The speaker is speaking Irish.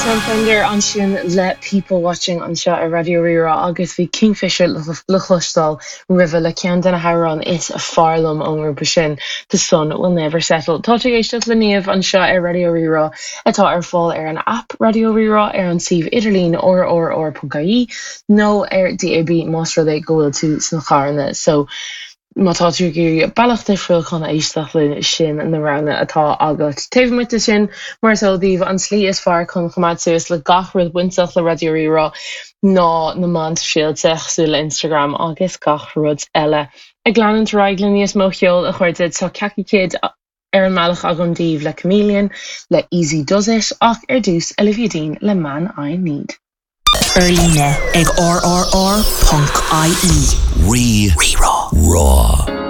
Sam Fender ansin le People Watching anseo ar Raidió Rí-Rá agus bhí Kingfisher le cloisteáil roimhe le ceann de na hamhráin is fearr liom ón ngrúpa sin, The Sun Will Never Settle. Tá tú ag éisteacht le Niamh anseo ar Raidió Rí-Rá atá ar fáil ar an aip Raidió Rí-Rá, ar an suíomh idirlín rrr.ie nó ar DAB más rud é go bhfuil tú sna carranna. So má tá tú ag iarraidh bealach difriúil chun éisteacht linn, sin na roghanna atá agat. Taobh amuigh de sin, mar is eol daoibh, an tslí is fearr chun coimeád suas le gach rud bainteach le Raidió Rí-Rá ná na meáin shóisialta, cosúil le Instagram agus gach rud eile. Ag leanúint ar aghaidh le níos mó ceoil, a chairde, tá Kaki Kid ar an mbealach agam daoibh le Chameleon, le Easy Does It, ach ar dtús, Olivia Dean le Man I Need. Ar líne ag rrr.ie. Rí, Rá. Rá.